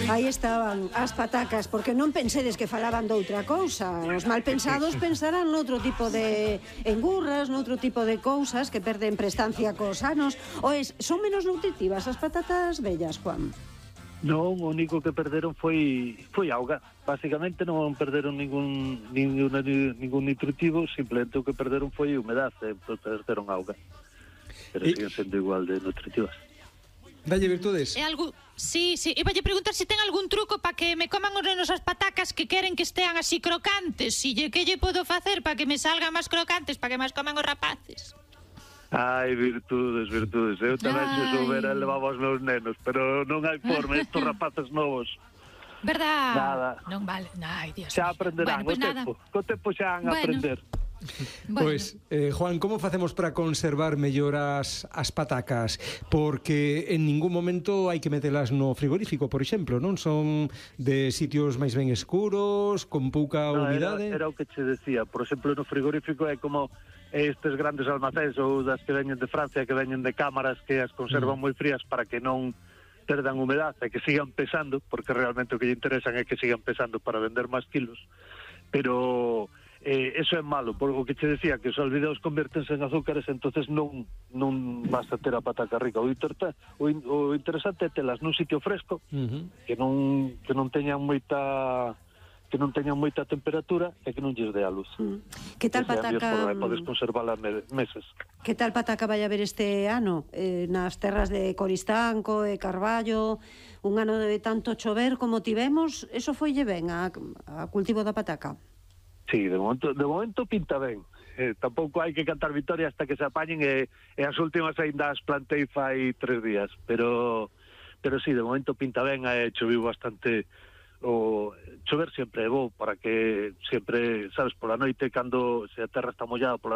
Aí estaban as patacas, porque non pensedes que falaban doutra cousa. Os malpensados pensarán noutro tipo de engurras, noutro tipo de cousas que perden prestancia cos anos. Son menos nutritivas as patatas vellas, Juan? Non, o único que perderon foi auga. Básicamente non perderon ningún nutritivo, simplemente o que perderon foi humedade, perderon auga. Pero siguen sendo igual de nutritivas. Dalle virtudes. É algo... Sí, iba a preguntar se ten algún truco para que me coman os nenos as patacas que queren que estean así crocantes. Que lle podo facer para que me salgan máis crocantes, para que máis coman os rapaces? Ai, virtudes. Eu tamén se soubera levaba os meus nenos, pero non hai forma, estos rapaces novos. Verdad? Nada. Non vale. Ai, Dios Xa mío. aprenderán, co tempo xa van a aprender. Pois, Juan, como facemos para conservar mellor as patacas? Porque en ningún momento hai que metelas no frigorífico, por exemplo, non? Son de sitios máis ben escuros, con pouca humidade. Era o que che decía, por exemplo, no frigorífico é como estes grandes almacéns ou das que veñen de Francia, que veñen de cámaras que as conservan moi frías para que non perdan humedade e que sigan pesando, porque realmente o que lle interesan é que sigan pesando para vender máis kilos, pero eso é malo, porque o que che decía, que os almidoos convértense en azúcares, entonces non vas a ter a pataca rica. O interesante é telas nun sitio fresco, que non teñan moita temperatura e que non lles dé a luz. Que tal pataca? Podes conservala meses. Que tal pataca vai haber este ano? Nas terras de Coristanco e Carballo, un ano de tanto chover como tivemos, eso foille ben a cultivo da pataca? Sí, de momento pinta ben. Tampouco hai que cantar victoria hasta que se apañen e as últimas ainda as plantei fai 3 días, pero sí, de momento pinta ben, choviu bastante. O chover sempre é bo para que sempre, sabes, pola noite, cando se a terra está mollada pola